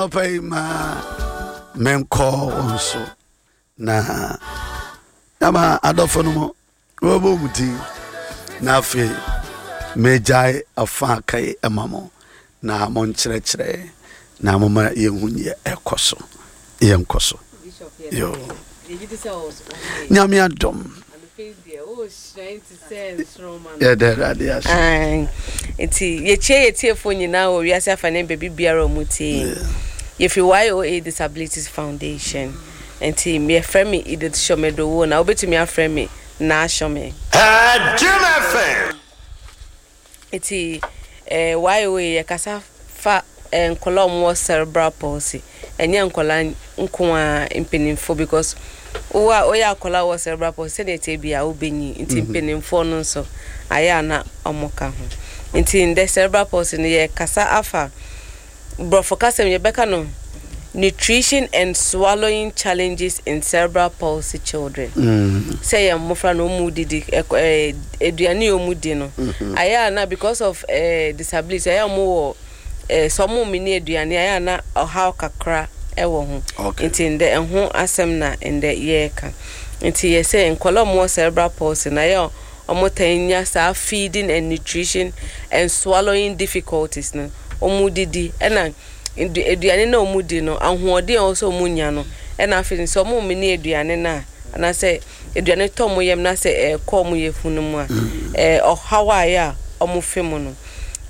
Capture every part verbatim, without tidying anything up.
Anɔpa yi ma menkɔ wo nso na ama adɔfo no mu wɔbɔ mu din, na afei megyae afa aka yi ma mo na monkyerɛkyerɛ na moma yɛhu neɛ ɛkɔ so. Yɛnkɔ so yo. Nyame adom, yɛda Awurade ase. Nti yɛkyie yɛtiefoɔ nyinaa wɔ wiase afa ne baabi biara a ɔmo tie yɛn. Yɛfiri Y O A Disabilities Foundation, nti yɛfrɛ me Edith Shɔmedowo, na wobɛtumi afrɛ me Naa Shɔme. Jim F M. Nti eh, Y O A yɛkasa fa eh, nkɔla a ɔmo wɔ cerebral palsy. Ɛnyɛ nkɔla nko a, mpanimfoɔ, because wo a woyɛ akɔla a wɔ cerebral palsy, sɛdeɛ ɛteɛ bi a wobɛnyi, nti mpanimfoɔ no nso ayɛ a na ɔmo ka ho. Nti ndɛ cerebral palsy no, yɛkasa afa borɔfo kasɛm yɛbɛka no nutrition and swallowing challenges in cerebral palsy children. Mm. Sɛ yɛ mmɔfra na ɔmu didi, ɛkɔ- ɛɛ, aduane a ɔmu di no, ayɛ a na because of ɛɛ, disability, ayɛ a ɔmo wɔ ɛɛ, sɛ ɔmo mini aduane, ayɛ a na ɔhaw kakra ɛwɔ ho. Okay. Nti ndɛ ɛho asɛm na ndɛ yɛreka. Nti yɛsɛ nkɔla a ɔmo wɔ cerebral palsy na ayɛ a ɔmo tan nya saa feeding and nutrition and swallowing difficulties no, ɔmo didi ɛna ndu- aduane na ɔmo di no, ahoɔden a ɛwɔ sɛ ɔmo nya no, ɛna afei sɛ ɔmo mini aduane no a, anaasɛ aduane tɔ ɔmo yam na sɛ ɛkɔ ɔmo yafunu mu a, ɛɛ ɔhaw a ɛyɛ a ɔmo fe mu no,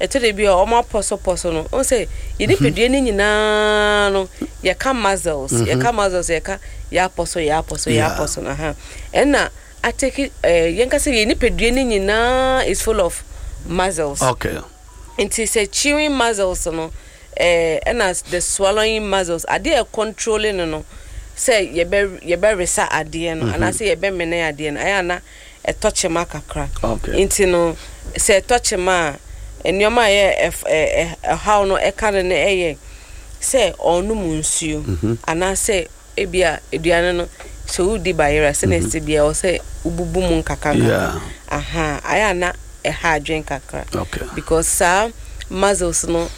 ɛtɔ de bi a ɔmo apɔsɔpɔsɔ no, ɔmo sɛ yɛ nipadua no nyinaa no, yɛka muscles, yɛka muscles, yɛka yɛ apɔsɔ, yɛ apɔsɔ, yɛ Yeah. apɔsɔ no ha, ɛna ateki ɛɛ yɛnka sɛ yɛ nipadua no nyinaa is full of muscles. Okay nti sɛ chewing muscles no, ɛɛ ɛna the swallowing muscles, adeɛ a controlling no no sɛ yɛbɛ yɛbɛresa adeɛ no anaasɛ yɛbɛmene adeɛ no, ayɛ ana ɛtɔ kyema kakra. Okay. Nti no sɛ ɛtɔ kyema a, nneɛma a ɛyɛ ɛf- ɛ- ɛ- ɛhaw no ɛka no no ɛyɛ sɛ ɔnom nsuo anaasɛ ebia aduane no, sɛ wodi bayerɛ a, sɛnea ɛsɛ bia ɛwɔ sɛ wobubu mu nkakra nkakra. Yeah. Aha, ayɛ ana ɛha adwen kakra Okay. because saa muscles no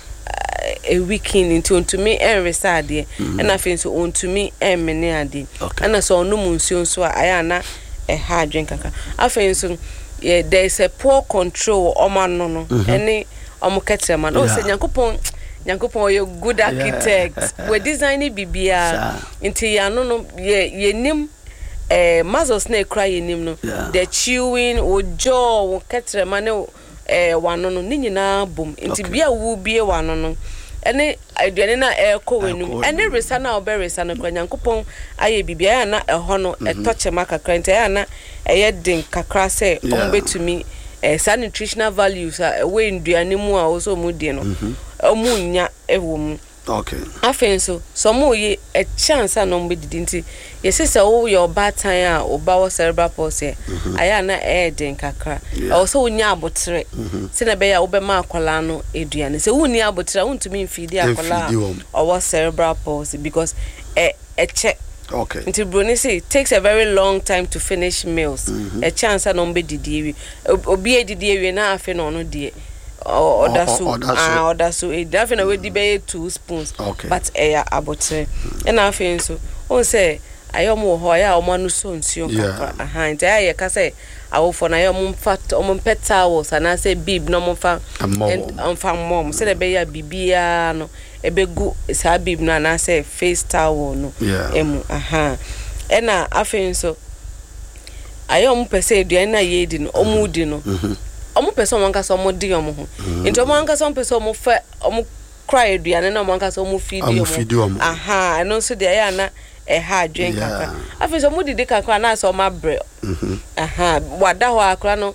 ɛweaken, nti ontumi ɛnresa adeɛ, ɛna afei nso ontumi ɛnmene adeɛ. Okay. Ɛna sɛ ɔnom nsuo nso a, ayɛ ana ɛha adwen kakra. Afei nso yɛ there is a poor control wɔ ɔmo ano no ɛne ɔmo kɛtɛma no. Ɔsɛ Yeah. Nyankopɔn, Nyankopɔn ɔyɛ good architect, wɔ design biribiara. Saa. Nti yɛn ano no, yɛ yɛnim ɛɛ muscles na ekura yɛnim no, Yeah. the chewing, wo jaw, wo kɛtɛma ne wo ɛɛ w'ano no ne nyinaa bom. Nti Okay. bia wo bie w'ano no ɛne aduane no a ɛrekɔ w'anum Ɛrekɔ ɛne w'anum. resa no a wobɛresa no kora, Nyankopɔn ayɛ biribi, ɛyɛ a na ɛhɔ no ɛtɔ kyɛma kakra, nti ɛyɛ a na ɛyɛ den kakra sɛ ɔmo Yeah. bɛtumi ɛɛ saa nutritional values a ɛwɔ nduane mu a wɔsɛ ɔmo di no, ɔmo nya ɛwɔ mu. Okay. Afei nso sɛ ɔmo yɛ ɛkyɛ ansa na ɔmo bɛdidi, nti yɛsɛ sɛ woyɛ ɔbaatan a ɔba wɔ cerebral palsy a, ayɛ a na ɛyɛ den kakra. Yeah. Ɛwɔ sɛ wonya abotere sɛnea ɛbɛyɛ a wobɛma akwadaa no aduane. Sɛ wonni abotere a, wontumi mfeedi akwadaa Mfeedi wɔn. a ɔwɔ cerebral palsy because ɛ ɛkyɛ. Okay. Nti broni say it takes a very long time to finish meals. Ɛkyɛ ansa na ɔmo bɛdidi awie. Ob- obi edidi awie na afei na ɔno deɛ ɔ- ɔda Ɔ- so. ɔ- ɔda so. Ah, ɔda so edi. Afei na wadi bɛyɛ two spoons. Okay. But ɛyɛ abotere. Ɛna afei nso wɔn sɛ ayɛ ɔmo wɔ hɔ, ayɛ a ɔmo ano sɔ nsuo Yeah. kakra aha, nti ayɛ a yɛka sɛ awofoɔ no ayɛ ɔmo mfa ɔmo mpɛ towels anaasɛ bib na ɔmo mfa Mmɔ ɛn- wɔn. ɔmfa mmɔ ɔmo sɛdeɛ ɛbɛyɛ a biribiara no ɛbɛgu saa bib no anaasɛ face towel no Yeah. ɛmu aha. Ɛna afei nso ayɛ ɔmo pɛ sɛ aduane no a yɛredi no, ɔmo di no, ɔmo pɛ sɛ ɔmo ankasa ɔmo di ɔmo ho, nti ɔmo ankasa ɔmo pɛ sɛ ɔmo fɛ ɔmo kora aduane na ɔmo ankasa ɔmo feedi. Ɔmo feedi ɔmo. Aha, ɛno nso deɛ ɛyɛ ana ɛha adwen kakra. Yeah. Afei nso ɔmo didi kakra anaasɛ ɔmo abrɛ aha, wada hɔ akora no,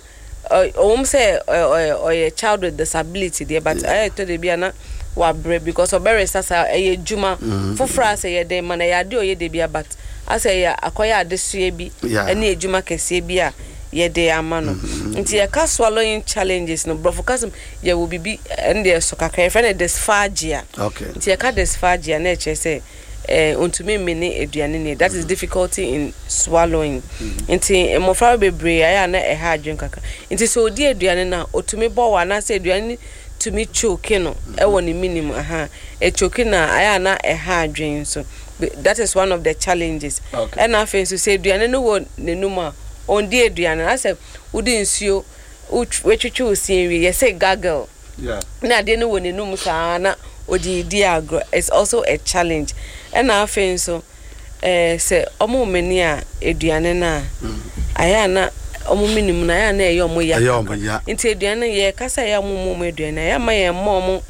ɔ- ɔwɔm sɛ ɔ- ɔ- ɔyɛ child with disability deɛ, but ɛyɛ tɔ de bi a na wabrɛ because ɔbɛresa saa ɛyɛ adwuma foforɔ a sɛ yɛde ma no, ɛyɛ ade a ɔyɛ de bi a, but asɛ ɛyɛ akɔyɛ adesoa bi Yeah. ɛne adwuma kɛseɛ bi a yɛde ama no. Nti yɛka swallowing challenges no, borɔfo kasɛm yɛwɔ biribi, ɛne deɛ so kakra, yɛfrɛ no dysphagia. Okay. Nti yɛka dysphagia na ɛkyerɛ sɛ eh, ntumi mmene aduane ne, that is difficulty in swallowing. Nti mmɔfra bebree ayɛ a na ɛha adwene kakra, nti sɛ odi aduane no a, otumi bɔ wɔ anaasɛ aduane no Tumi choke no ɛwɔ ne minim aha, echoke na ayɛ a na ɛha adwene nso. That is one of the challenges. Okay. Ɛna afei nso, sɛ aduane no wɔ n'anum a, ɔndi aduane no, asɛ wode nsuo wotwitwi wo sie wie, yɛsɛ gargle Yeah. na adeɛ no wɔ n'anum saa na ɔde di agorɔ. It's also a challenge. Ɛna afei nso, ɛɛ sɛ ɔmo mene a, aduane no a ayɛ a na ɔmo menim no, ayɛ a na ɛyɛ ɔmo ya. Ɛyɛ ɔmo ya. Nti aduane no, yɛ kasa yɛ ɔmo mu ɔmo aduane a, yɛ ama yɛn mma ɔmo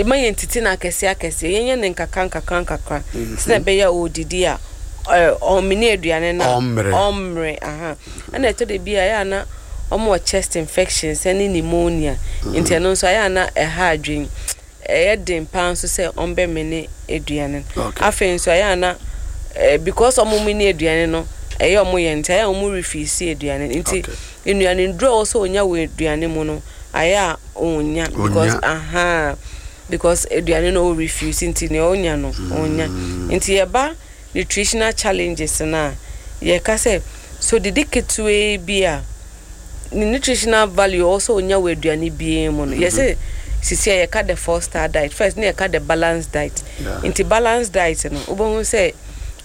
ma yɛn titi no akɛseɛ akɛseɛ, yɛnyɛ ne nkakra nkakra nkakra sɛ ɛbɛyɛ a ɔdidi a, ɛɛ ɔmene aduane no a Ɔmmerɛ. Ɔmmerɛ aha. Ɛna ɛtɔ de bi a, ɛyɛ a na ɔmo wɔ chest infections ɛne pneumonia, nti ɛno nso ayɛ a na ɛha adwene, ɛyɛ den paa nso sɛ ɔmbɛmene aduane no. Okay. Afei nso, ɛyɛ a na ɛɛ because ɔmo mene aduane no ɛyɛ ɔmo yɛ, nti ɛyɛ a ɔmo refuse aduane no. Nti Okay. nnuane nduro a ɔwɔ sɛ onya wɔ aduane mu no, ayɛ a onya because Onya. Aha, because aduane no o refuse, nti nea onya no onya. Nti yɛba nutritional challenges no a, yɛka sɛ so didi ketewa bi a, ne nutritional value ɔwɔ sɛ onya wɔ aduane biara mu no, yɛsɛ sisi a yɛka the Four Star Diet, first ne yɛka the Balanced Diet. Yeah. Nti balanced diet no, wobɛhu sɛ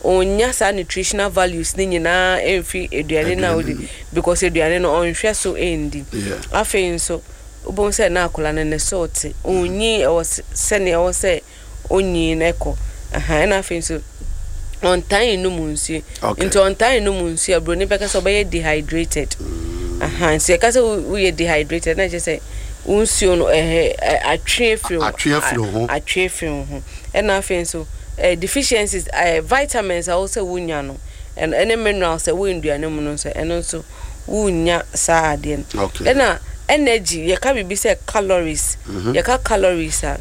onya saa nutritional values ne nyinaa ɛmfi aduane no a Aduane wodi no. because aduane no ɔnhwɛ so ɛndi. Yeah. Afei nso, wobɛhu sɛ na akwadaa no ne so te onyi ɛwɔ s- sɛnea ɛwɔ sɛ onyi no ɛkɔ aha. Ɛna afei nso, ɔntan num nsuo. Okay. Nti ɔntan num nsuo a, buroni bɛka sɛ ɔbɛyɛ dehydrated aha. Nti yɛka sɛ wo- woyɛ dehydrated na kyerɛ sɛ wo nsuo no ɛhɛ ɛ- atwe afiri wo- Atwe afiri wo ho. a- atwe afiri wo ho. Ɛna afei nso, ɛɛ deficiencies, ɛɛ vitamins a wɔsɛ wonya no, ɛno ɛne minerals a ɛwɔ nnuane mu no nso, ɛno nso wonya saa adeɛ no. Okay. Ɛna energy, yɛka biribi sɛ calories. Yɛka calories a,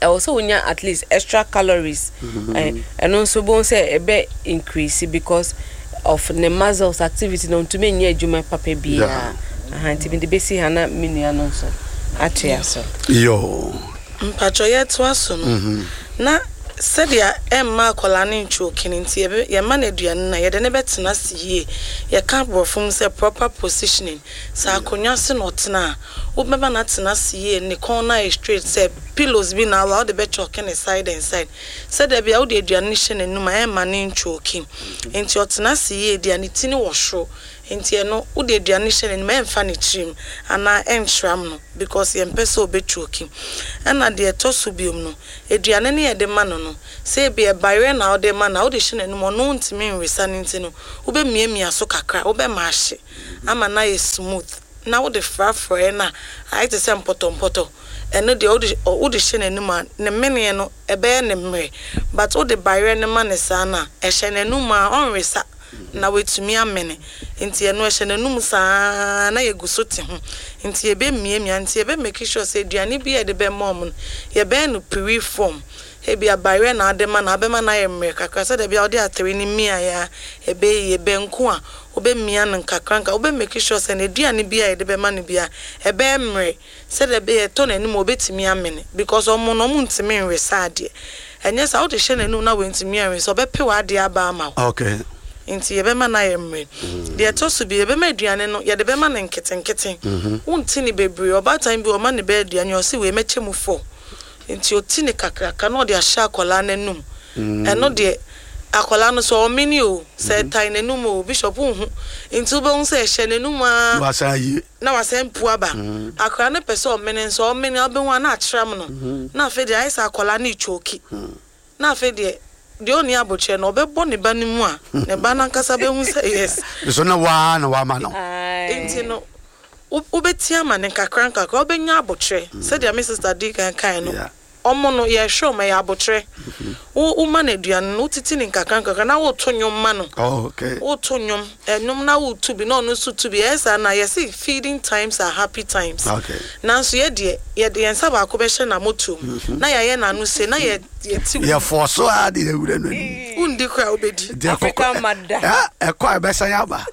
ɛwɔ sɛ wonya at least extra calories. Ɛ ɛno nso bohu sɛ ɛbɛ increase because of ne muscles activity na ntumi nyɛ adwuma papa biara aha. Nti mede bɛsi ha na me nua no nso atoa so. Yo. Mpatwɔ, yɛtoa so no na sɛdeɛ ɛmma akwadaa no ntwoke no, nti yɛbɛ- yɛma no aduane no a, yɛde ne bɛtena ase yie. Yɛka borɔfo mu sɛ proper positioning. Sɛ akonnwa se na ɔtena a, wobɛma no atena ase yie, ne kɔn no ayɛ straight. Sɛ pillows bi na awa, wode bɛkyɔke ne side and side sɛdeɛ bia wode aduane no hyɛ n'anum a, ɛmma ne ntwoke. Nti ɔtena ase yie deɛ, ne ti no wɔ soro, nti ɛno wode aduane no hyɛ n'anim, ɛmfa ne tirim anaa ɛntram no because yɛmpɛ sɛ ɔbɛtwoki. Ɛna deɛ ɛtɔ so biom no, aduane no yɛde ma no no sɛ ebi ɛbayerɛ na wode ma no a, wode hyɛ n'anim, ɔno ntumi nwesa no, nti no wobɛmiamia so kakra, wobɛma ahye ama no ayɛ smooth na wode frafraɛ no a, ayɛ te sɛ mpɔtɔmpɔtɔ. Ɛno deɛ, wode ɔ- wode hyɛ n'anim a, ne meneɛ no ɛbɛyɛ ne mmerɛ, but wode bayerɛ no ma ne saa no a, ɛhyɛ n'anum a, ɔnwesa na watumi amene. Nti ɛno ɛhyɛ n'anum saa na yɛgu so te ho, nti yɛbɛmiamia, nti yɛbɛ make sure sɛ aduane bi a yɛde bɛma ɔmo no, yɛbɛyɛ no puree form. Ebi abayerɛ na ade ma no, abɛma no ayɛ mmerɛ kakra sɛdeɛ bia wode atere no miaeɛ a ɛbɛyɛ yie. Banku a, wobɛmia no nkakra nka, wobɛ make sure sɛ n'aduane bi a yɛde bɛma no bia ɛbɛyɛ mmerɛ sɛdeɛ ɛbɛyɛ ɛtɔ n'anim a, obɛtumi amene because ɔmo no, ɔmo ntumi nwesa adeɛ. Ɛnyɛ saa, wode hyɛ n'anum na wɔntumi anwesa, ɔbɛpe w'adeɛ aba ama wo. Okay. Nti yɛbɛma no ayɛ mmerɛ. Deɛ ɛtɔ so bi, yɛbɛma aduane no, yɛde bɛma no nketenkete, wonti ne bebree. Ɔbaatan bi, ɔma ne bɛyɛ aduane, ɔsi wei mɛkyɛ mu four, nti ɔti ne kakraka na ɔde ahyɛ akwadaa n'anum. Ɛno deɛ, akwadaa no sɛ ɔmene o, sɛ ɛtae n'anum o, Bishop, nhu, nti wobɛhu sɛ ɛhyɛ n'anum a Wasan yi. Na wasan pu aba. Akwadaa no pɛ sɛ ɔmene nso, ɔmene a, wobɛhu a na akyerɛm no, na afei deɛ ayɛ sɛ akwadaa no retwoki, na afei deɛ deɛ ɔnni abotire no, ɔbɛbɔ ne ba no mu a, ne ba no ankasa bɛhu sɛ yes. So na waa na wama no. Nti no, wo- wobɛti ama ne nkakra nkakra, wobɛnya abotire sɛdeɛ me sister di kan kan no. Yeah. Ɔmo no, yɛhwɛ ɔmo, ɛyɛ abotire. Wo woma no aduane no, wotiti ne nkakra nkakra na woto nnwom ma no. Oh, okay. Woto nnwom, ɛnwom na wotu bi na ɔno nso tu bi. Ɛyɛ saa na yɛsi feeding times are happy times. Okay. Nanso yɛ deɛ, yɛde yɛn nsa baako bɛhyɛ n'amotuom na yɛayɛ n'ano se na yɛ yɛti. Yɛfɔ so a de awura no anim. Wundi kora, wobɛdi. Nti ɛkɔ- African mother. Eh, ɛkɔ a, ɛbɛsan aba.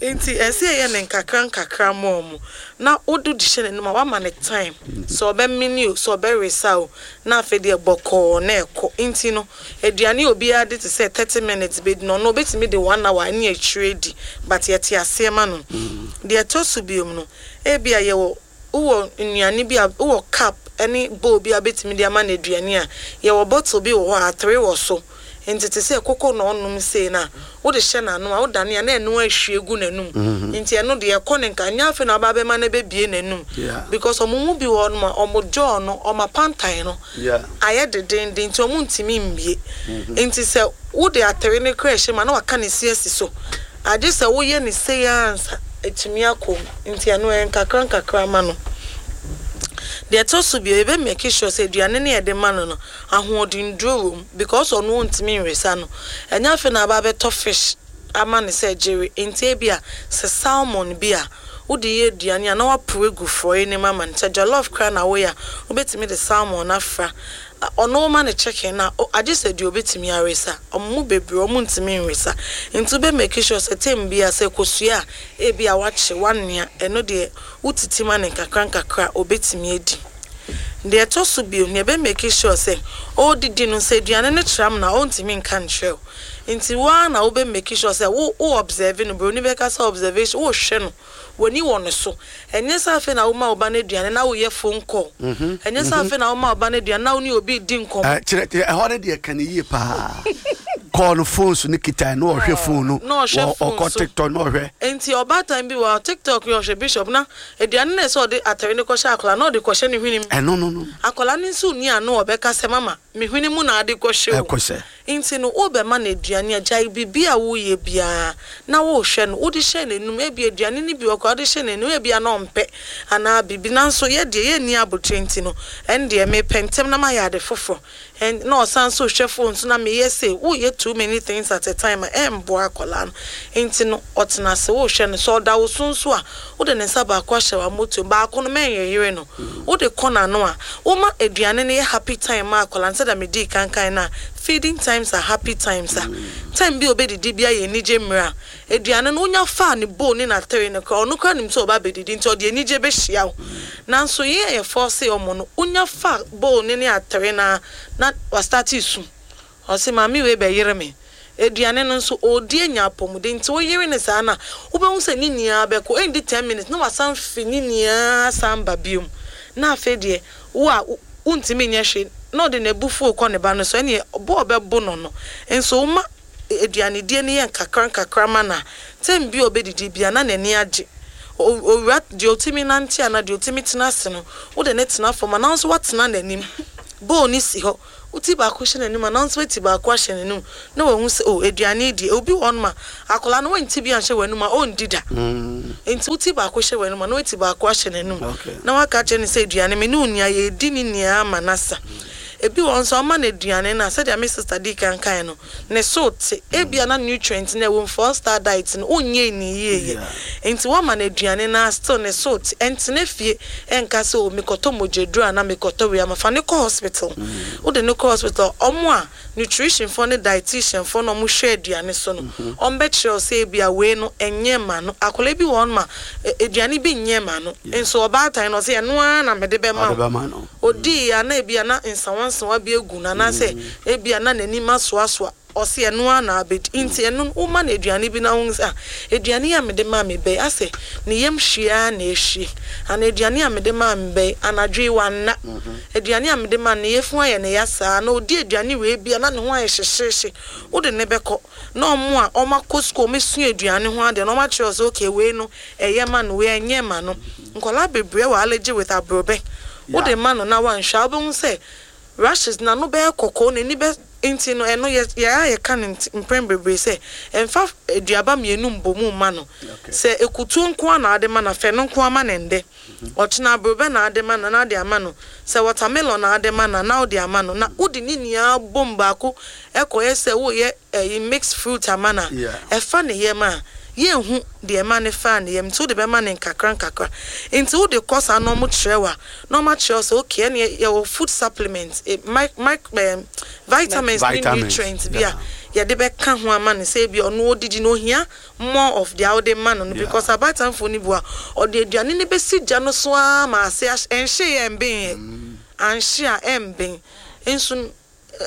Nti ɛsɛ yɛyɛ ne nkakra nkakra ma ɔmo na wode de hyɛ n'anim a, wama ne time sɛ ɔbɛmene o, sɛ ɔbɛresa o, na afei deɛ bɔkɔɔ na ɛkɔ. Nti no, aduane a obiara de te sɛ thirty minutes bɛdi no, ɔno obɛtumi de one hour ne akyire di, but yɛte aseɛ ma no. Deɛ ɛtɔ so biom no, ebi a yɛwɔ Wowɔ nnuane bi a, wowɔ cup ne bowl bi a wobɛtumi de ama no aduane a, yɛwɔ bottle bi wɔ hɔ a atere wɔ so. Nti te sɛ koko na ɔnom sei no a, wode hyɛ n'ano a, wodane a na ɛno ahwie gu n'anum. Nti ɛno deɛ ɛkɔ ne nka, nyɛ afei na waba abɛma no bɛbie n'anum. Yeah. Because ɔmo mu bi wɔ hɔnom a, ɔmo jaw no, ɔmo apantan no Yeah. ayɛ dedenden nti ɔmo ntumi mbie. Nti sɛ wode atere no kora ɛhyɛ mu a, na waka ne si asi so. Agye sɛ woyɛ ne sei ansa etumi akɔ mu. Nti ɛno ɛyɛ nkakra nkakra ma no. Deɛ ɛtɔ so bio, yɛbɛ make sure sɛ aduane no yɛde ma no no, ahoɔdenduro wɔ mu, because ɔno ɔntumi nwesa no. Ɛnyɛ afei na aba abɛtɔ fish ama no sɛ gyere. Nti ebi a sɛ salmon bi a wode yɛ aduane a, na waporo egu frɔeɛ no mu ama no. Sɛ jollof koraa na woyɛ a, wobɛtumi de salmon afra. Ɔno woma no chicken na agye sɛ deɛ obɛtumi awesa. Ɔmo mu bebree ɔmo ntumi nwesa. Nti wobɛ make sure sɛ time bi a sɛ kosua a ebi a wakye wanoa, ɛno deɛ wotiti ma no nkakra nkakra a obɛtumi adi. Deɛ ɛtɔ so bio, nea ɛbɛ make sure sɛ ɔredidi no, sɛ aduane no kyerɛ na ɔntumi nka nkyerɛ wo. Nti woara na wobɛ make sure sɛ wo wo observe no. Broni bɛka sɛ observation, wohwɛ no, w'ani wɔ ne so. Ɛnyɛ sɛ afei na woma wo ba no aduane na woyɛ phone call. Ɛnyɛ sɛ afei na woma wo ba no aduane na wo ne obi di nkɔmmɔ. Eh, kyerɛ kyerɛ ɛhɔ no deɛ, ka ne yie paa. Kɔɔ no phone so ne kita na ɔhwɛ phone no. Na ɔhwɛ wɔ- phone ɔkɔ so. TikTok na ɔhwɛ. Nti ɔbaatan bi wɔ TikTok yɛ ɔhwɛ, Bishop, na aduane no sɛ ɔde atare no kɔhyɛ akwadaa na ɔde kɔhyɛ ne hwenem. Ɛno no no. Akwadaa no nso ni ano ɔbɛka sɛ, "Mama, me hwene mu na ade kɔhyɛ o." Ɛkɔ sɛ Nti no wobɛma no aduane a, gyae biribi a woyɛ biara na wohwɛ no. Wode hyɛ n'anum, ebi aduane no bi wɔ koraa wode hyɛ n'anum, ebi a na ɔmpɛ anaa biribi, nanso yɛ deɛ yɛnni abotire. Nti no ɛn deɛ mepɛ ntɛm na mayɛ ade foforɔ. Ɛn na ɔsan so hwɛ phone so na meyɛ se woyɛ too many things at a time a, ɛmboa akwadaa no. Nti no ɔtena ase, wohwɛ no. Sɛ ɔda wo so nso a, wode ne nsa baako ahyɛ w'amotuo, baako no mɛnyɛyere no, wode kɔ n'ano a, woma aduane no yɛ happy time ma akwadaa no. Sɛdeɛ medii kankan no a, feeding times are happy times a, time bi a obɛdidi bi ayɛ anigye mmerɛ a aduane no wonya faa ne bowl ne n'atere no koraa, ɔno koraa nim sɛ ɔba abɛdidi, nti ɔde anigye bɛhyia wo. Nanso yɛn a yɛfɔ se ɔmo no, wonya fa bowl ne ne atere na na wastart su, ɔse, "Maame wei bɛyere me aduane no." Nso ɔredi anya apɔmuden, nti woyere ne saa na wobɛhu sɛ ne nyinaa bɛkɔ. Ɛndi ten minutes na wasan fi ne nyinaa san ba biom, na afei deɛ wo a wontumi nyɛ hwee na ɔde n'abufuo kɔ ne ba no so. Ɛneɛ bɔɔl bɛbo no no nso, woma aduanedie no yɛ nkakra nkakra ma na time bi a ɔbɛdidi bia na n'ani agye. Owura deɛ ɔtumi nante ana deɛ ɔtumi tena ase no, wode ne tena fam anaa nso watena n'anim, bowl ne si hɔ, woti baako hyɛ n'anim anaa nso wati baako ahyɛ n'anim na wahu sɛ o aduane die. Obi wɔ hɔnom a, akwadaa no wɔnti bi anhyɛ w'anim a, ɔndi da. Nti woti baako hyɛ w'anim a, na wati baako ahyɛ n'anim Okay. na waka kyerɛ no sɛ aduane me ne wo nia yɛdi ne nyinaa ama n'asa. Ebi wɔ nso, ɔma no aduane no a, sɛdeɛ me sister di kankan no, ne so te ebia na nutrient na ɛwɔ mu, Four Star Diet no wonyɛ ni yie yɛ. Nti wɔma no aduane no a, still ne so te. Ɛntena fie ɛnka sɛ o mekɔtɔ mogyaduro ana mekɔtɔ wei ama. Fa ne kɔ hospital. Wode ne kɔ hospital, ɔmo a nutrition foɔ ne dietitian foɔ na ɔmo hwɛ aduane so no, ɔmo bɛkyerɛ wo sɛ ebia wei no ɛnyɛ ma no. Akwadaa bi wɔ hɔ nom a, aduane bi nyɛ ma no, nso ɔbaatan no ɔsɛ ɛno ara na mede bɛma ɔde wo. Bɛma no. Odii ya na ebia na nsawansawa bi egu no anaasɛ ebia na n'anim asoasoa, ɔsi ɛno ara na abɛdi. Nti ɛno no, woma no aduane bi na wohu sɛ ah, aduane yi a mede maa me bɛyi asɛ ne yam hwie ara na ehwie, ana aduane a mede maa me bɛyi anadwo yi wanna, aduane a mede maa no ne yafunu ayɛ ne ya saa na odi aduane wei bia na ne ho ayɛ hyehyehye, wode ne bɛkɔ na ɔmo a ɔmo akɔ sukuu, ɔmo esua aduane ho adeɛ na ɔmo akyerɛ wo sɛ okay, wei no ɛyɛ ma no, wei ɛnyɛ ma no. Nkɔlaa bebree wɔ allergy with aborɔbɛ. Wode ma no na wanhwɛ a, wobɛhu sɛ rashes n'ano bɛyɛ kɔkɔɔ, n'ani bɛ. Nti no ɛno yɛ yɛ a yɛka no nti mpɛn bebree sɛ ɛmfa aduaba mmienu mbɔ mu ma no. Sɛ ekutuo nko ara na ade ma no, afɛ no nko ama ne ndɛ ɔkyena aborɔbɛ na ade ma no na ade ama no, sɛ watermelon na ade ma no na ɔde ama no, na wode ne nyinaa bom baako ɛkɔyɛ sɛ woyɛ ɛyi mixed fruit ama no a, Yeah. ɛfa ne yam a, yɛnhu deɛ ɛma ne fa ne yam. Nti wode bɛma ne nkakra nkakra. Nti wode kɔ saa na ɔmo kyerɛ wo a, na ɔmo akyerɛ wo sɛ okay, ɛne yɛwɔ food supplement, eh, mic, mic, eh, vitamins ne Vitamins, nutrients bi a yeah. yɛde bɛka ho ama no sɛ ebi ɔno odidi no ohia more of deɛ wode ma no no Yeah. because abatanfoɔ no bi a, ɔde aduane no bɛsi gya no so ara ma ase ahy- ɛnhye yɛ ɛmben yɛ anhye a, ɛmben nso n-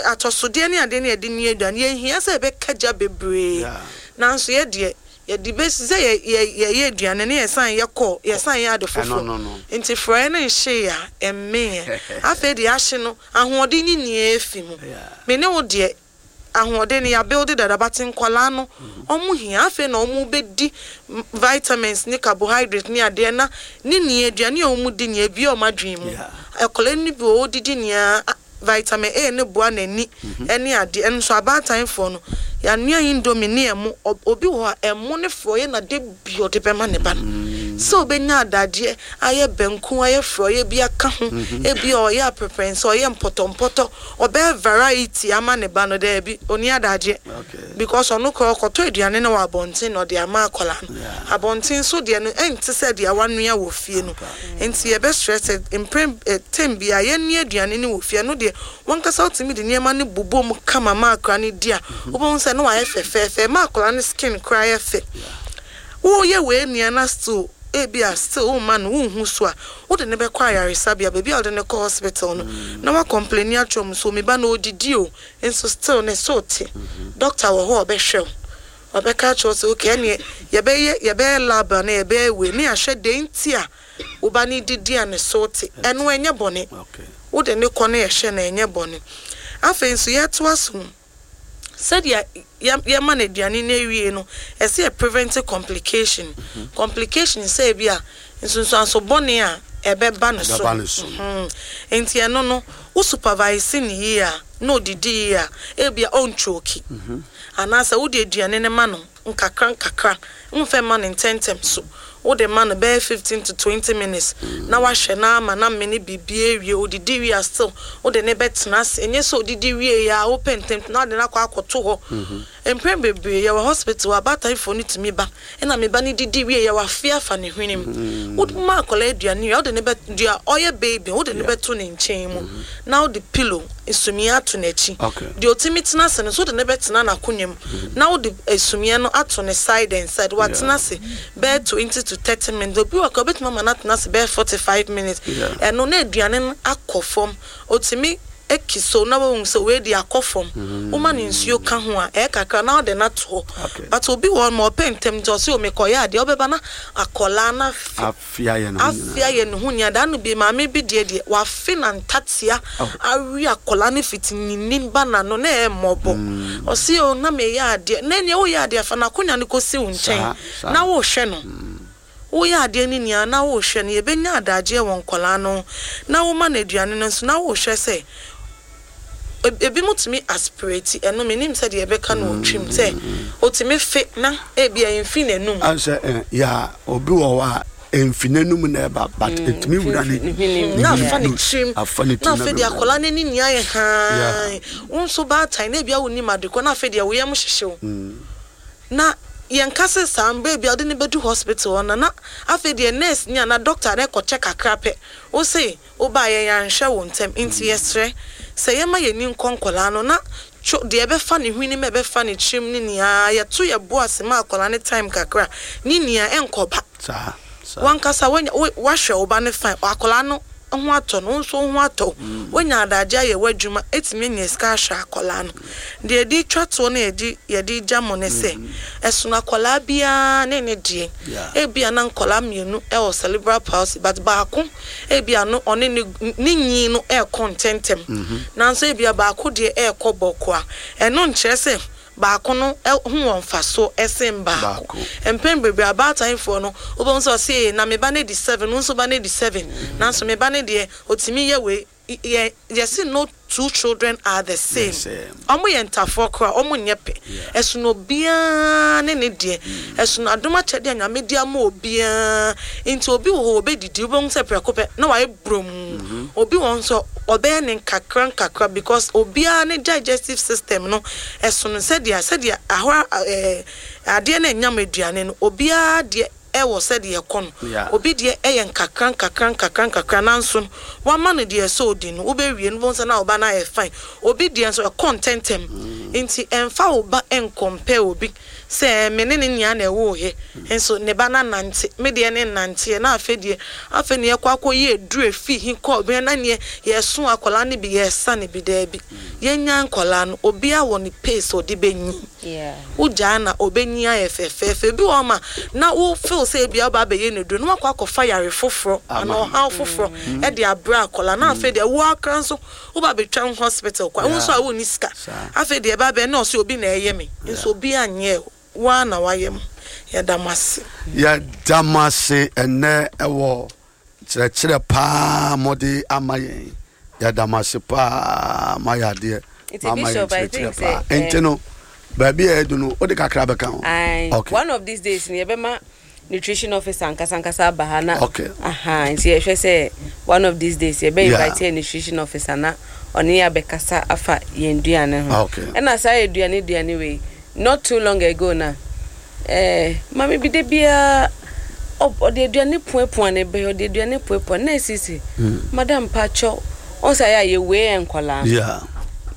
atɔsodeɛ ne adeɛ ne yɛde nua aduane, yɛnhia sɛ yɛbɛka gya bebree. Yeah. Nanso yɛ deɛ Yɛde bɛsi sɛ yɛ yɛ yɛyɛ aduane ne yɛsan yɛ kɔ, yɛsan yɛ ade Ɛno foforɔ. no no. Nti frɔeɛ no nhyee a ɛmmeeɛ. Afei deɛ ahye no, ahoɔden ne nyinaa efi mu. Yeah. Me ne wo deɛ, ahoɔden no yɛabuild dada, but nkɔlaa no, ɔmo hia. Afei na ɔmo bɛdi m- vitamins ne carbohydrate ne adeɛ na ne nea aduane a ɔmo di nea ebia ɔmo adwene mu. Yeah. Akwadaa no bi wɔ hɔ, ɔdidi nea a- vitamin A ne boa n'ani ɛne adeɛ. Ɛno nso abaatan no, yɛanoa Indomie ne ɛmo. Ɔ- obi wɔ hɔ a ɛmo ne frɔeɛ na de bi ɔde bɛma ne ba no sɛ obɛnya adadeɛ ayɛ banku, ayɛ frɔeɛ bi aka ho, ebi a ɔyɛ aprɛprɛnsa, ɔyɛ mpɔtɔmpɔtɔ, ɔbɛyɛ variety ama ne ba no. Daabi, oni adadeɛ Okay. because ɔno koraa ɔkɔtɔ aduane no wɔ abɔnten na ɔde ama akwadaa no. Yeah. Abɔnten so deɛ no ɛnte sɛ deɛ wanoa wɔ fie no, nti yɛbɛsrɛ sɛ mprɛn ɛ tem bia yɛnua aduane no wɔ fie no deɛ, wankasa wotumi de nneɛma no bobɔ mu kama ma akwadaa no di a, wobɛhu sɛ ne wayɛ fɛfɛɛfɛ ma akwadaa no skin koraa yɛ fɛ. Woyɛ wei nua na still ebi a still womma no wonhu so a, wode ne bɛkɔ ayaresabea, baabi a wode ne kɔ hospital no na woacomplain akyerɛ mu so, me ba na odidi o, nso still ne so te. Doctor wɔ hɔ a ɔbɛhwɛ wo, ɔbɛka akyerɛ wo sɛ okay, ɛneɛ yɛbɛyɛ yɛbɛyɛ lab a na yɛbɛyɛ wei ne yɛahwɛ deɛ nti a wo ba no didi a ne so te. Ɛno ɛnyɛ bɔne. Okay. Wode ne kɔ ne yɛhwɛ na ɛnyɛ bɔne. Afei nso yɛtoa so, sɛdeɛ yɛ- yɛma no aduane no awie no, ɛsɛ yɛ prevent complication complication sɛ bi a nsunsuanso bɔne a ɛbɛba ne so. Ɛbɛba ne so. Mhm. Nti ɛno no, wo supervise ne yie a na odidi yie a, ebi a ɔntwoki anaasɛ wode aduane no ma no nkakra nkakra, mfɛ ma no ntɛntɛm so, wode ma no bɛyɛ fifteen to twenty minutes na wahwɛ na ama na mmene biribi awie. Odidi wie a, still wode ne bɛtena ase. Ɛnyɛ sɛ odidi wie a wopɛ ntɛm na wode no akɔ akɔto hɔ. Mprɛn bebree yɛwɔ hospital, abaataefoɔ no tumi ba ɛna me ba no didi wie yɛ, wafe afa ne hwene mu. Wode ma akwadaa aduane wie a, wode ne bɛ dua ɔyɛ baby, wode ne bɛto ne nkyɛn mu na wode pillow sumiiɛ ato n'akyi. Okay. Deɛ otumi tena ase no nso, wode ne bɛtena n'akonnwa mu na wode sumiiɛ no ato ne side and side. Watena ase bɛyɛ twenty to thirty minutes, obi wɔ ka obetumi ama no atena ase bɛyɛ forty five minutes. Yeah. Ɛno na aduane no akɔ fam, otumi eki so na wɔn sɛ wei de akɔ fam. Woma ne nsuo ka ho a, ɛyɛ kakra na ɔde no ato hɔ. Okay. But obi wɔ hɔ ma ɔpɛ ntɛm nti ɔsɛ omekɔyɛ adeɛ, ɔbɛba na akɔlaa na afe. Afe ayɛ ne ho afe nyinaa. Ayɛ ne ho nyinaa. Daa no bi, maame bi deɛ deɛ wafe na ntatea Oh. awe akɔlaa no fiti ne nim ba n'ano na ɛyɛ mmɔbɔ. Ɔsi o, na meyɛ adeɛ na nea woyɛ adeɛ fa n'akonnwa no kɔsi wo nkyɛn Saa, saa. na wohwɛ no. Woyɛ adeɛ no nyinaa na wohwɛ no. Yɛbɛnya adagyeɛ wɔ nkɔlaa no ho na woma no aduane no nso na wohwɛ sɛ eb- ebi mu tumi aspirate. Ɛno menim sɛ deɛ yɛbɛka no wɔ twim sɛ otumi fe na ebi a ɛmfi n'anum. Ansɛ ɛ ya, obi wɔ hɔ a ɛmfi n'anum na ɛba, but ɛtumi wura ne ne hwenem. Na afa ne tirim. Afa ne tirim. Na afei deɛ bɛwura. Akwadaa n'ani nyinaa yɛ haa. Wo nso baatan na ebia wonim adekɔ na afei deɛ wo yam hyehye wo na yɛnka sɛ saa mmerɛ bi a wode ne bɛdu hospital hɔ no, na afei deɛ nurse ni ana doctor na ɛkɔkyɛ kakra pɛ, wo se wobaa yɛn yɛanhwɛ wo ntɛm. Nti yɛsrɛ sɛ yɛma yɛni nkɔ nkɔlaa no na two deɛ ɛbɛfa ne hwene mu, ɛbɛfa ne tirim ne nyinaa, yɛto yɛ bo ase ma akwadaa ne time kakra ne nyinaa ɛnkɔba. Saa saa. Wankasa wanya wo- wahwɛ wo ba no fine, akwadaa no ho atɔ no, wo nso wo ho atɔ wo. Wonya adagye ayɛ w'adwuma, etumi anya sika ahwɛ akwadaa no. Deɛ yɛde twa toɔ no, yɛde yɛde gya mo ne sɛ ɛsono akwadaa biara ne ne deɛ. Yeah. Ebia na nkwadaa mmienu ɛwɔ cerebral palsy, but baako ebia no ɔne ne ne nyin no ɛɛkɔ ntɛntɛm, nanso ebia baako deɛ ɛɛkɔ bɔkɔ a, ɛno nkyerɛ sɛ baako no ɛ- ho wɔ mfasoɔ ɛsen baako. Baako. Mpɛn bebree abaatan no, wobɛhu sɛ ɔse na me ba no di seven, wo nso ba no di seven, nanso me ba no deɛ otumi yɛ wei. Yɛ yɛsi no two children are the same. Same. Ɔmo yɛ ntafoɔ koraa, ɔmo nyɛ pɛ. Ɛsono obiara ne ne deɛ, ɛsono adom akyɛdeɛ a Nyame de ama obiara. Nti obi wɔ hɔ obɛdidi, wobɛhu sɛ prɛko pɛ na wayɛ brom. Obi wɔ hɔ nso ɔbɛyɛ ne nkakra nkakra because obiara ne digestive system no ɛsono sɛdeɛ sɛdeɛ ahora ɛɛ adeɛ no ɛnyam aduane no, obiara deɛ. ɛwɔ sɛdeɛ ɛkɔ no. Yeah. Obi deɛ ɛyɛ nkakra nkakra nkakra nkakra, nanso no wama no deɛ ɛsɛ odi no, wobɛwie no, wobɛhu sɛ na ɔba no ayɛ fine. Obi deɛ nso ɛkɔ ntɛntɛm, nti ɛmfa wo ba ɛncompare obi sɛ me ne ne nyinaa na ɛwɔ hɛ, nso ne ba no nante, me deɛ ne nanteɛ. Na afei deɛ, afei ne yɛkɔ akɔyɛ eduru efi hi kɔ bɛn na neɛ yɛso akwadaa no bi, yɛsa ne bi. Daabi, yɛnya nkwadaa no, obiara wɔ ne pace a ɔde bɛnyi. Yeah. Wogyaa na ɔbɛnyi ayɛ fɛfɛɛfɛ bi wɔ hɔ ma na wo feel sɛ ebia woba abɛyɛ ne duro na wakɔ akɔfa yare foforɔ Ama. anaa ɔhaw foforɔ ɛde abrɛ akwadaa. Na afei deɛ, wo akra nso woba abɛtwa wo hospital kwa, wo nso a wonni sika. Saa. Afei deɛ, ɛba bɛn na ɔsɛ obi na ɛyɛ me, nso obi anyɛ wo a na wayɛ mu. Yɛda mo ase. Yɛda mo ase ɛnɛ ɛwɔ kyerɛkyerɛ paa mɔde ama yɛn. Yɛda mo ase paa, mayɛ adeɛ. Nti mama yɛn Bishop, I kyerɛkyerɛ think paa. sɛ, Nti no baabi a yɛdu no, wode kakra bɛka ho? Aye. Okay. One of these days ni yɛbɛma nutrition officer ankasa ankasa aba ha na Okay. aha, nti yɛhwɛ sɛ one of these days yɛbɛ Yeah. invite yɛ nutrition officer na ɔne yɛ abɛkasa afa yɛn duane ho. Okay. Ɛna saa yɛ duane duane wei, not too long ago na ɛɛ maame bi de biara ɔ- ɔde aduane puapua ne bɛyɛ, ɔde aduane puapua na esisi, "Madam pakyɛw," ɔn sɛ ayɛ a yɛwei yɛ nkɔlaa. Yeah.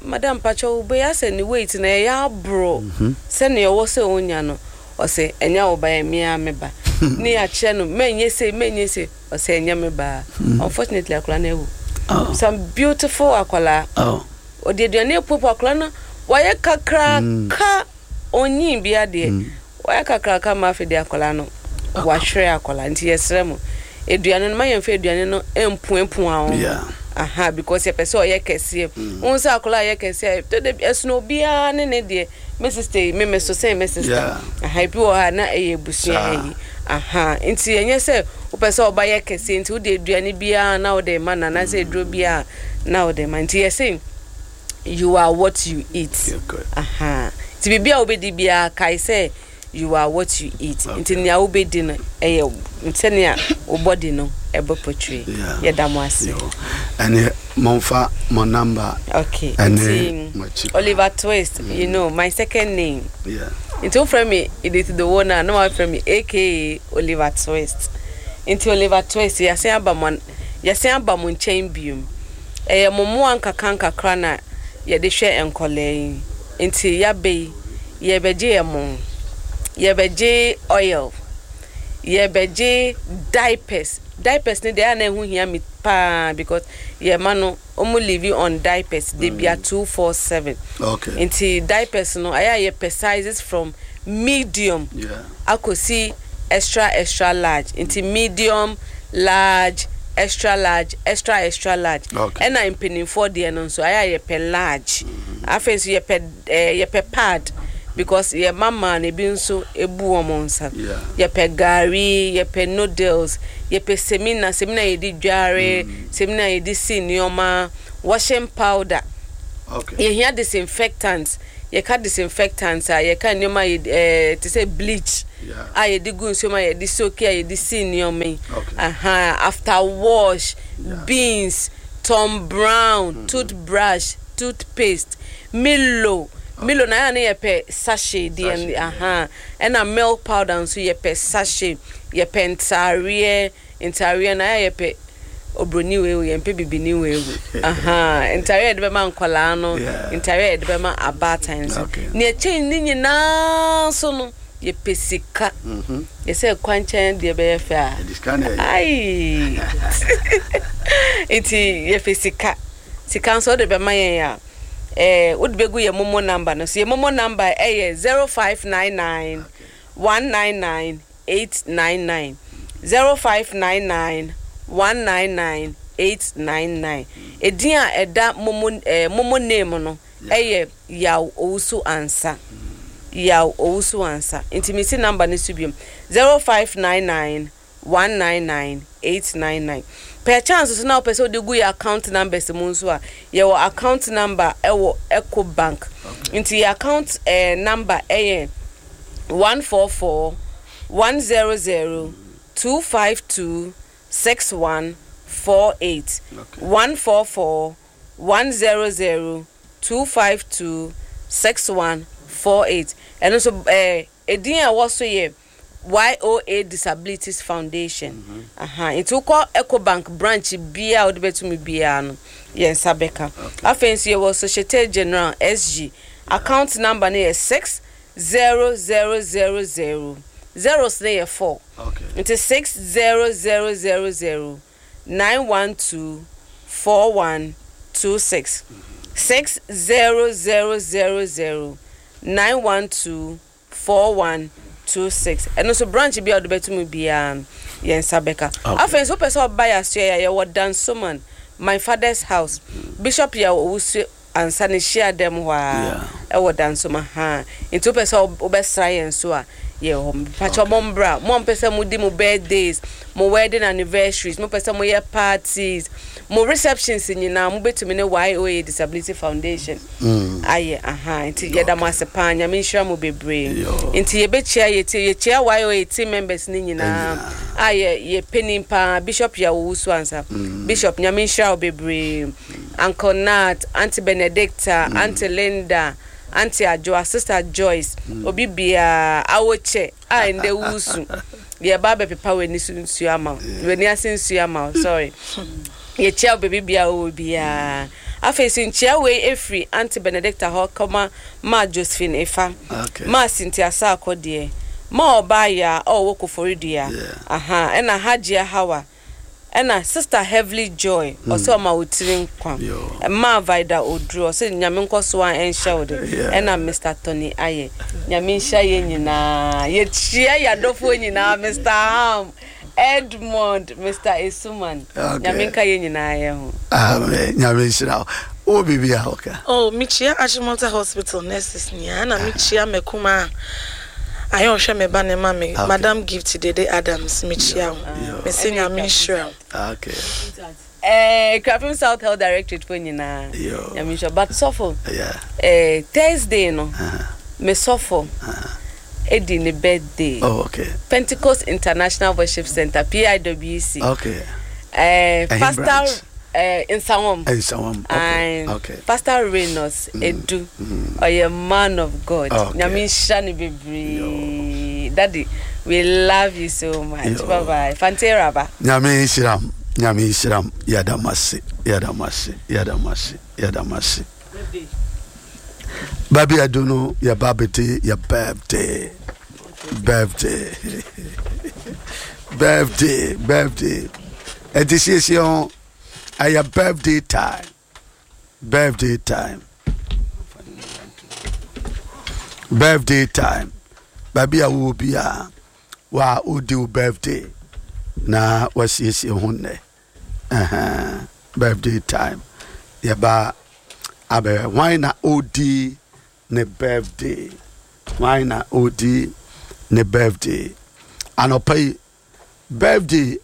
"Madam pakyɛw, wobɛyɛ asɛ ne weight na ɛyɛ aboro sɛnea ɔwɔ sɛ ɔnya no." Ɔsɛ ɛnyɛ wo ba, yɛ mea me ba. Ne yɛakyerɛ no mɛnyɛ sei, mɛnyɛ sei, ɔsɛ ɛnyɛ me ba. Unfortunately, akwadaa no awu. Oh. Some beautiful akwadaa. Oh. Ɔde aduane apuapua akwadaa no, wayɛ kakraka, ɔnyin bi adeɛ, wayɛ kakraka ma afei de akwadaa no wahwere akwadaa. Nti yɛsrɛ mo, aduane no, ma yɛmfa aduane no mpuapua wɔn. Yeah. Aha, because yɛpɛ sɛ ɔyɛ kɛseɛ. Wohu sɛ akwadaa a ɔyɛ kɛseɛ a, tɔ da bi ɛsono obiara ne ne deɛ. Me sister yi, me me so sɛn me sister. Yeah. Aha, ebi wɔ ha na ɛyɛ abusua. Saa. Yi aha, nti ɛnyɛ sɛ wopɛ sɛ ɔba yɛ kɛseɛ nti wode aduane biara na wode ma no, anaasɛ aduro biara na wode ma. Nti yɛsɛ you are what you eat. Yeah, good. Aha, nti biribi a wobɛdi biara, kae sɛ you are what you eat. Nti nea wobɛdi no ɛyɛ sɛnea wo body no ɛbɛ portray. Yeah. Yɛda mo ase. Yo. Ɛne momfa mo number. Okay. Ɛne Nti mo akyi. Oliver Twist, you know my second name. Yeah. Nti wofrɛ me Edith Dowo no a, na wafrɛ me A K A Oliver Twist. Nti Oliver Twist, yɛasen aba mo yɛsen aba mo nkyɛn biom. Ɛyɛ mo mmoa nkakra nkakra na yɛde hwɛ nkɔlaa yi. Nti yɛaba yi, yɛbɛgye yɛ mo, yɛbɛgye oil, yɛbɛgye diapers. Diapers ne deɛ, ɛyɛ a na ɛho hia me paa because yɛma no, ɔmo live on diapers de bia two four seven. Okay. Nti diapers no, ɛyɛ a yɛpɛ sizes from medium Yeah. akɔsi extra extra large. Nti medium, large, extra large, extra extra large. Okay. Ɛna mpanimfoɔ deɛ no nso, ayɛ a yɛpɛ large. Afei nso yɛpɛ ɛɛ yɛpɛ pad because yɛ mama no ebi nso ebu wɔn nsa. Yeah. Yɛpɛ gari, yɛpɛ noodles, yɛpɛ semina, semina yɛde dware, semina yɛde si nneɛma, washing powder. Okay. Yɛhia disinfectant. Yɛka disinfectant a, yɛka nneɛma a yɛde ɛɛ te sɛ bleach Yeah. a yɛde gu nsuo mu, a yɛde soak, a yɛde si nneɛma yi. Okay. Aha, after wash, Yeah. beans, Tom Brown, toothbrush, toothpaste, Milo. Milo na yɛ a ne yɛpɛ sachet deɛ. Sachet, yeah. Aha, ɛna milk powder nso yɛpɛ sachet. Yɛpɛ ntaareɛ. Ntaareɛ na yɛ a yɛpɛ obroni wei, yɛmpɛ bibini wei. Aha, ntaareɛ a yɛde bɛma nkɔlaa no, Yeah. ntaareɛ a yɛde bɛma abaatan nso. Okay. Nea ɛkyɛn ne nyinaa nso no, yɛpɛ sika. Mhm. Yɛsɛ kwankyɛn deɛ bɛyɛ fɛ a. Yɛde sika na ɛyɛ. Ai, nti yɛpɛ sika. Sika nso wode bɛma yɛn a, ɛɛ wode bɛgu yɛ MoMo number no so. Yɛ MoMo number ɛyɛ zero five nine nine one nine nine eight nine nine, zero five nine nine one nine nine eight nine nine. Edin a ɛda momo ɛɛ MoMo name no ɛyɛ Yaw Owusu Ansa, Yaw Owusu Ansa. Nti mi si number no so biom, zero five nine nine one nine nine eight nine nine. Per chance so na wopɛ sɛ wode gu yɛ account numbers mu nso a, yɛwɔ account number ɛwɔ Eco Bank. Nti yɛ account eh, number ɛyɛ one four four one zero zero two five two six one four eight. Okay. one four four one zero zero two five two six one four eight. Ɛno nso ɛɛ edin a ɛwɔ so yɛ Y O A Disabilities Foundation. Aha, nti wokɔ Ecobank branch biaa a wode bɛtumi biara no, yɛn nsa bɛka. Afei nso yɛwɔ Societe General, S G account number no yɛ six zero zero zero zero, zeros no yɛ four. Okay. Nti six zero zero zero zero nine one two four one two six, six zero zero zero zero nine one two four one two six. Ɛno nso branch bi a wode bɛtumi biara no, yɛn nsa bɛka. Okay. Afei nso wopɛ sɛ ɔba yɛ asoɛ a, yɛwɔ Dansoman, My Father's House, Bishop yɛ Owusu ansa ne hyia dɛm hɔ a ɛwɔ Dansoman ha. Nti wopɛ sɛ wobɛsra yɛn so a, yɛ hɔ. Pakyɛ, mo mbra. Mo a mpɛ sɛ modi mo birthdays, mo wedding anniversaries, mo pɛ sɛ moyɛ parties, mo receptions nyinaa, mobɛtumi ne Y O A Disability Foundation ayɛ. Aha, nti yɛda mo ase paa. Nyame nhyira mo bebree. Yo. Nti yɛbɛkyia yɛtie, yɛkyia Y O A team members ne nyinaa a yɛ yɛ panin paa, Bishop yɛ Owusu ansa. Bishop, Nyame nhyira wo bebree. Uncle Nat, Aunty Benedicta, Aunty Linda, Aunty Adwoa, Sister Joyce, obi biara awokyɛ a ndɛ wusu, yɛba abɛpepa w'ani so nsuo ama wo, w'ani ase nsuo ama wo. Sorry, yɛkyia wo baabi biara wɔ biara. Afei so nkyia wei efiri Aunty Benedicta hɔ kɔma Ma Josephine Efa, Okay. Ma Cynthia Saakɔ deɛ, Ma ɔbaa yɛ a ɔwɔ Koforidua. Yeah. Aha, ɛna Hajia Hawa, ɛna Sister Heavenly Joy, ɔsɛ ɔma wo tiri nkwa. Yo. Ma Vida Oduro, ɔsɛ Nyame nkɔ so a ɛnhyɛ wo de. Yeah. Ɛna Mister Tony ayɛ, Nyame nhyɛ yɛ nyinaa. Yɛkyia yɛadɔfoɔ nyinaa, Mister Ham Edmond, Mister Esuman. Okay. Nyame nka yɛ nyinaa yɛ ho. Amen. Nyame nhyira wo. Wowɔ biribi a woka? Oh, mekyia Achimota Hospital nurses nyinaa, na mekyia mɛkuma a ayɛ ɔhwɛ me ba ne ma me. Okay. Madam Gift Dede Adams, mekyia wo. Yo. Mese Nyame nhyira wo. Okay. Eh, Krapim South Health Directorate fo nyinaa. Yo. Nyame nhyira. But sɔfo, Yeah. eh, Thursday no, me sɔfo edi ne birthday. Oh, okay. Pentecost International Worship Center, P I W C. Okay. Eh, Ɛhe Pastor branch? eh, Nsawam. Nsawam. Okay. Aye. Okay. Pastor Renos Edu. Ɔyɛ man of God. Okay. Nyame nhyira ne bebree. Daddy, we love you so much. Yo. Bye bye. Fantera ba. Nyame nhyira m. Nyame nhyira m. Yɛda mo ase. Yɛda mo ase. Yɛda mo ase. Yɛda mo ase. Baabi adu no, yɛba abɛdi yɛ birthday. Birthday. Birthday. Birthday. Ɛnti siesie ho. Ɛyɛ birthday time. Birthday time. Birthday time. Baabi a wowɔ biara, wa wodi wo birthday na wasiesie ho nnɛ. Ɛhɛn, birthday time, yɛba abɛhwɛ hwan na ɔdi ne birthday, hwan na ɔdi ne birthday anɔpa yi. Birthday